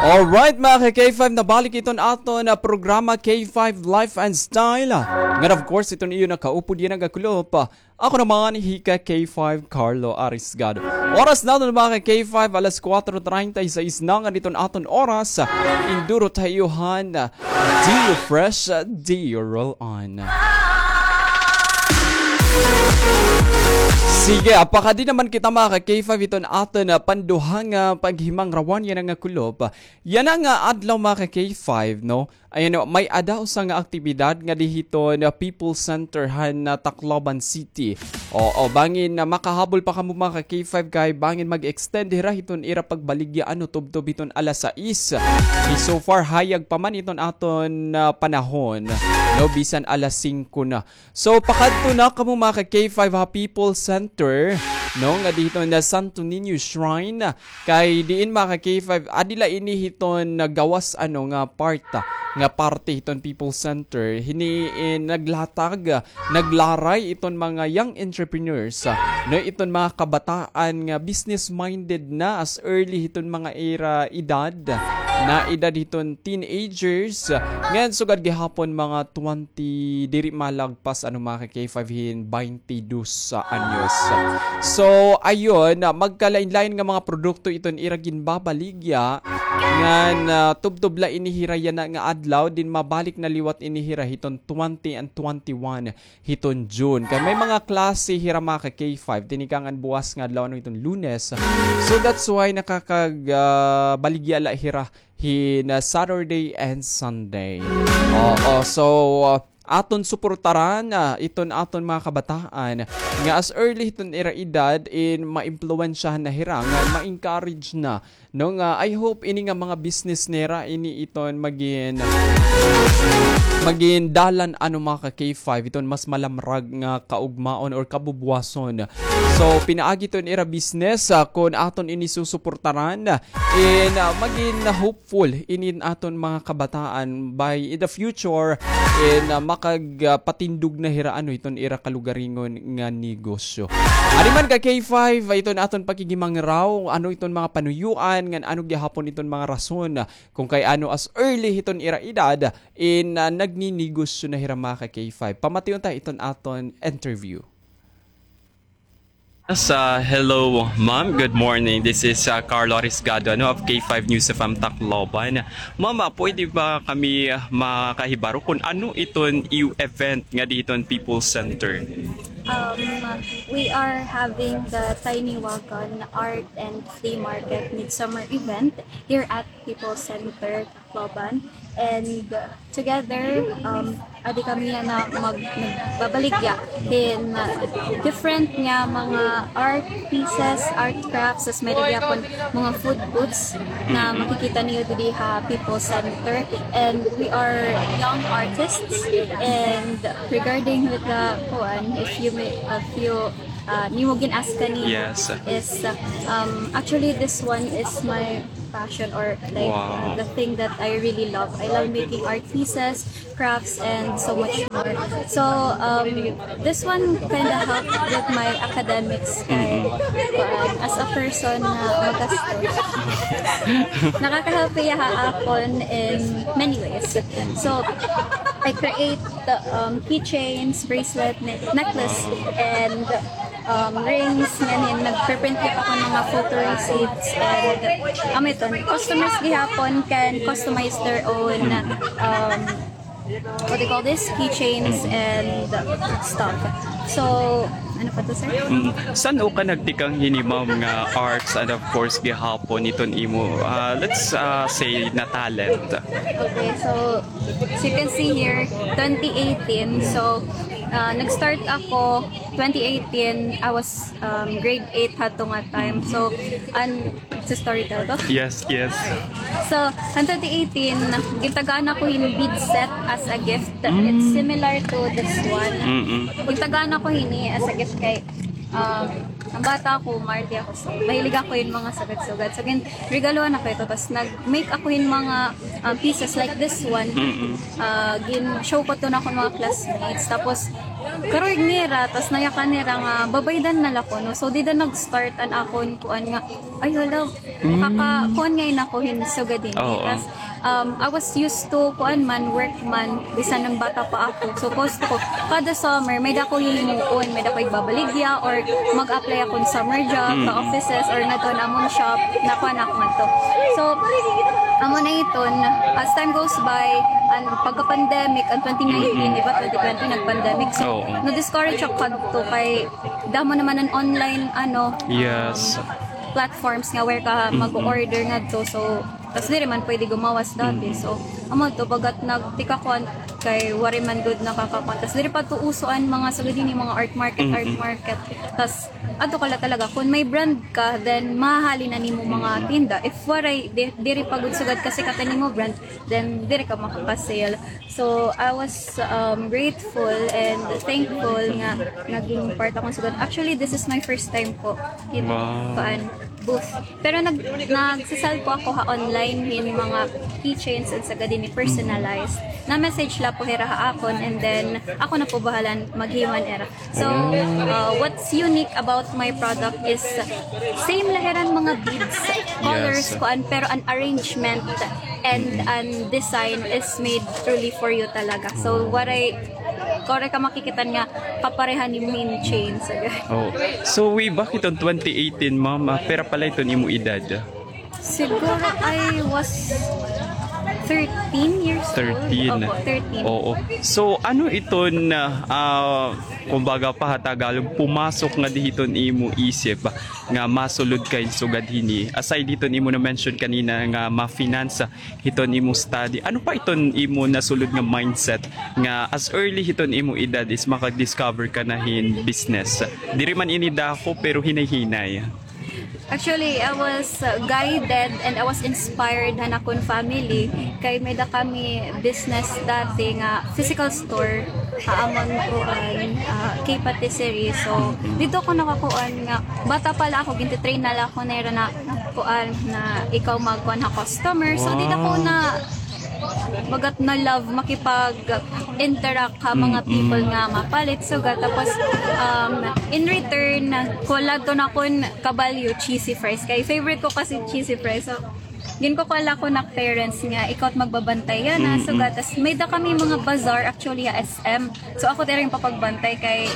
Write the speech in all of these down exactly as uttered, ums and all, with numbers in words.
Alright, mga ka-K five, nabalik iton aton, ah, programa, K five Life and Style. Ngan, of course, iton iyo nakaupod yana nga kulop. Ako naman, hi ka-K five, Carlo Arisgado. Oras naton, mga ka-K five, alas kuwatro treinta y seis na ngan iton aton oras. Indurot ha iyo han, ah, D U Fresh, ah, D U Roll On. Sige, ah, pakadi naman kita, mga ka-K five, iton aton, ah, panduha nga paghimangrawan yana nga kulop. Yana nga adlaw, mga ka-K five, no? Ayan, no, may-ada usa nga aktibidad ngadi hiton, ah, People's Center han, ah, Tacloban City. Oo, bangin na makahabol pa kamo, mga ka-K five, kay bangin mag-extend hira hiton ira pagbaligya, ano, tubtob hiton alas sais. Kay so far, hayag pa man iton aton, ah, panahon, no, bisan alas singko na. So, pakadto na kamo, mga ka-K five, ha People's Center, no, ngadi hiton Santo Niño Shrine. Kay diin, mga ka-K five, adi la ini hiton gawas, ano, nga part, ah, nga parte hiton People's Center. Hini, eh, naglatag, ah, naglaray iton mga young entrepreneurs, ah, no, iton mga kabataan nga business-minded na as early hiton mga ira edad, na edad hiton teenagers, ah, ngan sugad gihapon mga twenty, diri malagpas, ano, mga ka-K five, hin baynte dos anyos. So, ayun, ah, magkalain-lain nga mga produkto iton ira ginbabaligya. Ngan, ah, tubtob la ini hira yana nga adlaw, din mabalik na liwat ini hira hiton twenty and twenty-one hiton June. Kay may mga klase hira, mga ka-K five, tinikangan buwas nga adlaw, ano, hiton Lunes. So, that's why nakakag-, ah, baligya la hira hin, ah, Saturday and Sunday. Oo, so, ah, aton suportaran, ah, iton aton mga kabataan nga as early hiton ira edad in maimpluwensyahan na hira, nga ma-encourage na, no, nga I hope ini nga mga business nira ini iton magin, magin dalan, ano, mga ka-K five, iton mas malamrag nga kaugmaon or kabubuwason. So, pinaagi iton ira business, ah, kon aton ini susuportaran, in, ah, magin hope full inin aton mga kabataan by in the future in, ah, makag-, ah, patindog na hira, ano, iton ira kalugaringon nga negosyo. Adi man ka-K five, ah, iton aton pakigimangraw, ano iton mga panuyuan, ngan ano gihapon iton mga rason, ah, kon kay ano as early hiton ira edad, in, ah, nagninegosyo na hira, mga ka-K five. Pamation ta iton aton interview. Yes, ah, hello, ma'am. Good morning. This is, ah, Carlo Arisgado, ano, of K five News F M Tacloban. Ma'am, ah, pwede ba kami, ah, makahibaro kon ano iton iyo event ngadi hiton People's Center? Um, we are having the Tiny Wagon Art and Flea Market Midsummer event here at People's Center, Tacloban. And, uh, together, um, adi kami yana mag-, nagbabaligya hin, uh, different nga mga art pieces, art crafts, as may-ada gihapon mga food booths na makikita niyo didi ha People's Center. And we are young artists. And regarding with the, kuan, if you may, if you, uh, nimo gin-ask kanina, yes, is, uh, um, actually, this one is my passion or, like, wow, the thing that I really love. I love making art pieces, crafts, and so much more. So, um, this one kinda helped with my academics. Kay, kuan, as a person na magastos, nakaka-help hiya ha akon in many ways. So, I create the, um, keychains, bracelet, ne-, necklace, and um, rings, ngan hin nagpe-print gihap ako hin mga photo receipts, and, um, amo iton, customers gihapon can customize their own, um, what do you call this? Keychains and stuff. So, ano pa to, sir? Mm. San-o ka nagtikang hini, ma'am, nga arts and of course gihapon iton imo, ah, let's, ah, say na talent? Okay, so, as you can see here, twenty eighteen. So, ah, nag-start ako twenty eighteen, I was, um, grade eight hadto nga time. So, an, sa story tell ko? Yes, yes. So, an twenty eighteen, gintagaan ako hin bead set as a gift. It's similar to this one. Mm-mm. Gintagaan ako hini as a gift kay, um, Bata ako, maarte ako. So, mahilig ako hin mga sugad-sugad. So, gin-, regaluhan ako ito. Tas nag-make ako hin mga, um, pieces like this one. Mm-mm. Ah, gin-show ko to na akon mga classmates. Tapos, karuyag nira, tas nayakan nira nga, babaydan na la ko, no? So, dida nag-start an akon kuan nga, ay, hala, nakaka-, kuan ngay-an ako hin sugad hini. Oo. Tas, um, I was used to, kuan man, work man, bisan nang bata pa ako. So, gusto ko, kada summer, may-ada ako hihimuon, may-ada ako igbabaligya, or mag-apply ako hin summer job, sa offices, or ngadto ha amon shop, na kuan ako ngadto. So, amo na iton, as time goes by, an pagka-pandemic, an twenty nineteen, di ba, twenty twenty, nag-pandemic. So, na-discourage ako kadto kay damo naman an online, ano, Yes. um, platforms nga where ka mag-order ngadto. So, tas diri man pwede gumawas dati. So, amo to, bagat nagtikakuan kay waray man gud nakakakuan. Tas diri pa to uso an mga sugad hini, mga art market, art market. Tas adto ka la talaga. Kung may brand ka, then mahahalin na nimo mga tinda. If waray, di-, diri pa gud sugad kasikat an imo brand, then diri ka makaka-sale. So, I was, um, grateful and thankful nga naging part ako sugad. Actually, this is my first time po in Wow. kuan, booth. Pero nag-, nagsasal po ako ha online hin mga keychains and sugad hini personalized. Na-message la po hira ha akon and then ako na po bahalan maghiman hira. So, uh, what's unique about my product is same la hiran mga beads, colors, Yes. kuan, pero an arrangement and an design is made truly for you talaga. So, waray, waray ka makikita nga kapareha nimo hin chain. So, Oh. So, way back iton twenty eighteen, ma'am, ah, pira pa la iton imo edad? Siguro I was thirteen years old. Thirteen. Opo, thirteen. Oo. So, ano iton, ah, ah, kumbaga pa ha Tagalog, pumasok ngadi hiton imo isip nga masulod ka hin sugad hini? Aside hiton imo na-mention kanina nga ma-finance hiton imo study, ano pa iton imo nasulod nga mindset nga as early hiton imo edad is makag-discover ka na hin business? Diri man ini dako, pero hinay-hinay. Actually, I was, uh, guided and I was inspired han akon family. Kay may-ada kami business dati nga physical store ha amon kuan, ah, K patisserie. So, didto ko nakakuan nga, bata pa la ako, gintitrain na la ako nira na kuan, na ikaw magkuan ha customer. So, dida ko na bagat na-love makipag-interact ha mga people nga mapalit, sugad. Tapos, um, in return, kuan la iton akon kabalyo, cheesy fries. Kay favorite ko kasi cheesy fries. So, ginkukuan la akon parents nga, ikaw it magbabantay yana, sugad. Tas may-ada kami mga bazaar, actually, ha S M. So, ako diri it papagbantay kay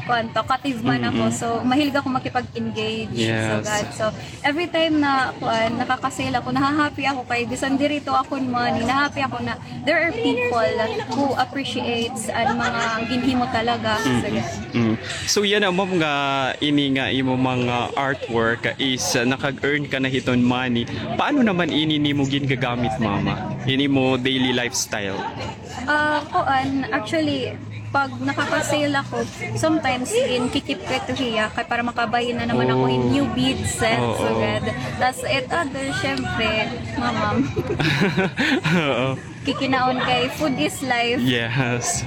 kuan, talkative man ako. So, mahilig ako makipag-engage, Yes. sugad. So, every time na, kuan, nakaka-sale ako, naha-happy ako kay bisan diri to akon money, naha-happy ako na there are people who appreciates an mga ginhimo talaga. Sugad. Mm. So, yana, ma'am, nga ini nga imo mga artwork is, uh, nakag-earn ka na hiton money. Paano naman ini nimo gingagamit, ma'am, ah, in imo daily lifestyle? Ah, kuan, actually, pag nakaka-sale ako, sometimes ginki-keep ko ito hiya, kay para makabayi na naman ako hin new beads set, Oo. sugad. Tas it other, syempre, mamam. Oo. Kikinaon kay food is life. Yes.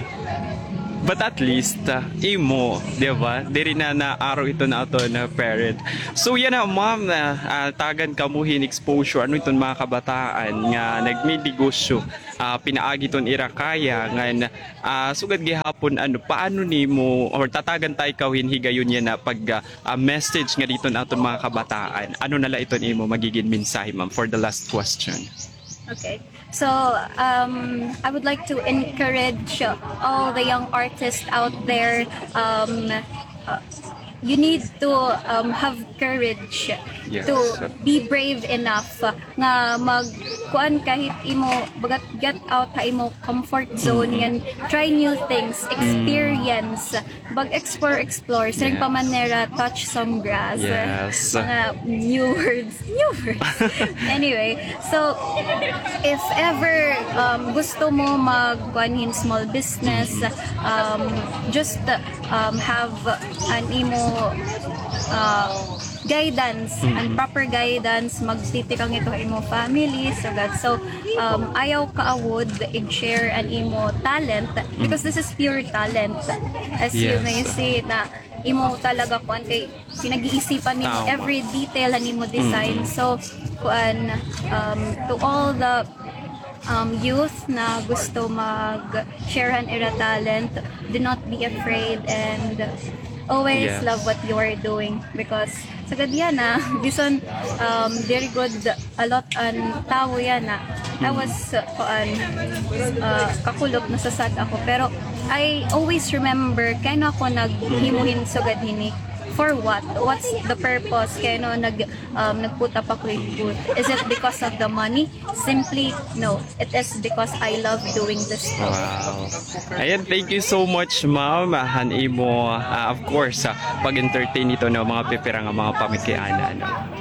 But at least, ah, imo, di ba? Diri na naaro iton aton parent. So, yana, ma'am, ah, ah, tagan kamo hin exposure. Ano iton mga kabataan nga nagninegosyo? Ah, pinaagi iton ira kaya ngan, ah, sugad gihapon, ano, paano nimo, or tatagan ta ikaw hin higayon yana pag, ah, ah, message ngadi hiton aton mga kabataan? Ano na la iton imo magigin mensahe, ma'am, for the last question? Okay. So, um, I would like to encourage all the young artists out there, um, uh, you need to, um, have courage Yes. to be brave enough nga mag-, kuan, kahit imo, bagat, get out ha imo comfort zone, ngan try new things, experience, mag-explore, explore. Siring pa man nira, touch some grass. Yes. Mga new words. New words. Anyway, so, if ever, um, gusto mo mag-, kuan hin small business, um, just, um, have an imo, uh, guidance, and proper guidance, magtitikang ito ha imo family, sugad. So, um, ayaw kaawod ig-share an imo talent, because this is pure talent. As you may see na, imo talaga kuan kay pinag-iisipan nimo every detail han imo design. So kuan, um, to all the um, youth na gusto mag-share han ira talent, do not be afraid and always love what you are doing because sa gadiana, bisan um, diri gud a lot an tawo yana. I was uh, kuan, uh, kakulop, nasasad ako. Pero I always remember kay ano ako naghimo hin sugad hini. For what? What's the purpose? Kay ano nag um, nag-put up ako hin booth. Is it because of the money? Simply, no. It is because I love doing this. Wow. Ayan, thank you so much, ma'am. Ah, han imo, ah, of course, ah, pag-entertain ito ng mga pipira nga mga pamikiana, no?